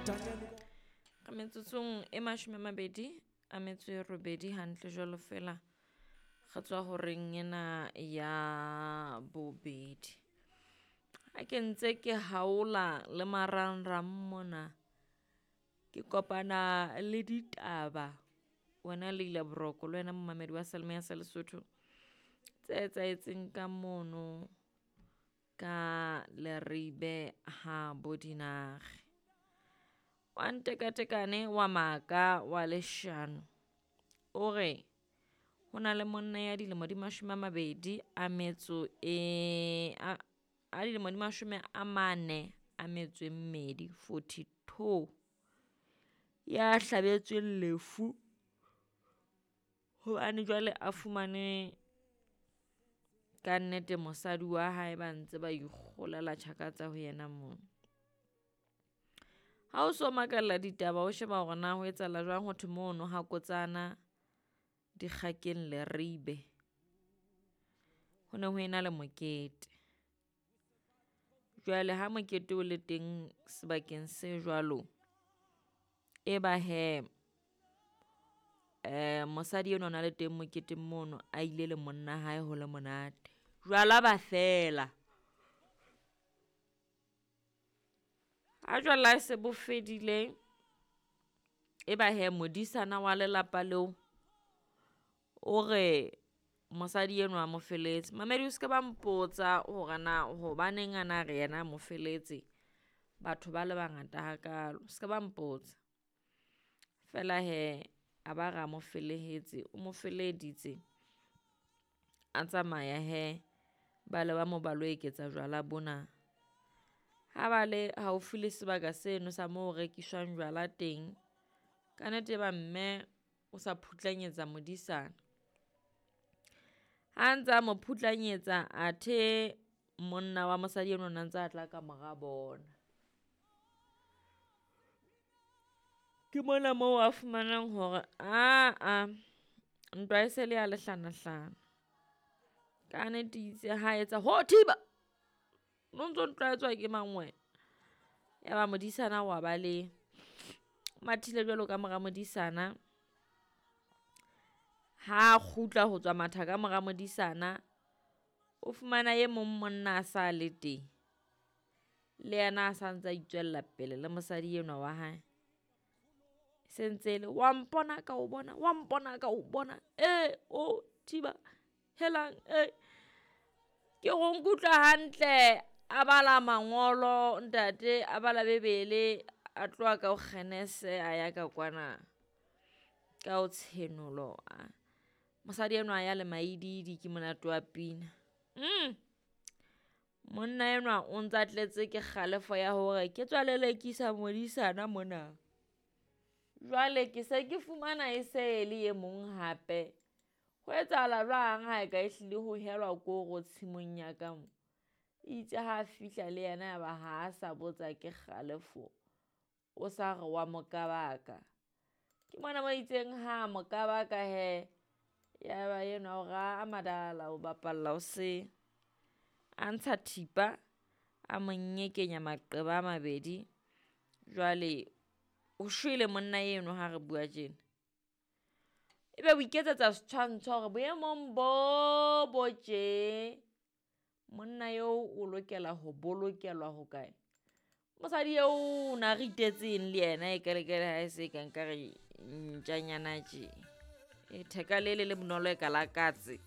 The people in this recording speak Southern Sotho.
Ka metsotsong e 28 hantle jwalo fela re tswa horeng ena ya bobedi. Ha ke ntse ke haola le marangrang mona, ke kopana le ditaba wena Leila Boroko le wena momamedi wa Seyalemoya sa Lesotho. Tse etsahetseng ka mono ka Leribe ha bo Dinare. Wa ntekatekane wa maka wa leshano, o re ho na le monna ya dilemo di 20 a metso e a dilemo di 42, 42, ya hlabetsweng lefu hobane jwale a fumane kannete mosadi wa hae ba ntse ba ikgolela tjhaka tsa ho yena moo. Ha o so makalla ditaba, o sheba hore na ho etsahala jwang ho thwe mono ha Kotsana dikgakeng Leribe. Ho ne ho ena le mokete. Jwale ha mokete o le teng sebakeng se jwalo, e ba hee mosadi enwa o na le teng moketeng mono a ile le monna hae ho le monate. Jwala ba fela, ha jwala se bo fedile, e ba hee modisana wa lelapa leo o re mosadi enwa a mo feletse. Momamedi o ska ba mpotsa hore na hobaneng ana re yena a mo feletse batho ba le bangata hakalo, ska ba mpotsa. Feela hee a ba re a mo felehetse, o mo feleheditse a tsamaya hee ba leba moo ba lo eketsa jwala bona. Ha ba le haufi le sebaka seno sa moo ho rekiswang jwala teng, kannete e ba mme o sa phutlanyetsa modisana. Ha ntsa mo phutlanyetsa athe monna wa mosadi enwa o na ntsa tla ka mora bona. Ke mona moo a fumanang hore aa ntwa e se le ya lehlanahlana. Kannete itse ha etsa ho thiba, o no ntso ntlwaetswa ke mang wena? Ya ba modisana wa baleha, o mathile jwalo ka mora modisana. Ha kgutla ho tswa matha ka mora modisana, o fumana e mong monna a sa le teng. Le yena a sa ntsa itswella pele le mosadi enwa wa hae. Se ntse le wa mpona ka o bona, wa mpona ka o bona, ee o thiba helang ee. Ke re o nkutlwa hantle, a bala mangolo ntate, a bala bebele, a tloha ka ho Kgenese a ya ka kwana ka ho Tshenolo. Mosadi enwa a ya le maididi ke monate wa pina. Monna enwa o ntsa tletse ke kgalefo ya hore ke tswa lelekisa modisana mona. Jwale ke se ke fumana e se le e mong hape. Ho etsahala jwang ha e ka ehlile ho helwa koro tshimong ya ka mo? Itse ha fihla le yena ya ba ha a sa botsa ke kgalefo, o sa re wa mo kabaka. Ke mona mo itseng ha mo kabaka hee, ya ba enwa o re aa madala o bapalla ho sele. A ntsha thipa, a mo nyekenya maqeba a mabedi. Jwale o shwele monna eno ha re bua tjena. Ebe o iketsetsa setshwantsho hore boemong bo bo tje, monna eo o lokela ho bolokelwa hokae? Mosadi eo o na ritetse eng le yena e kelekele ha e se ka nkare ntjanyana tje. E theka le le le bonolo e ka la katse.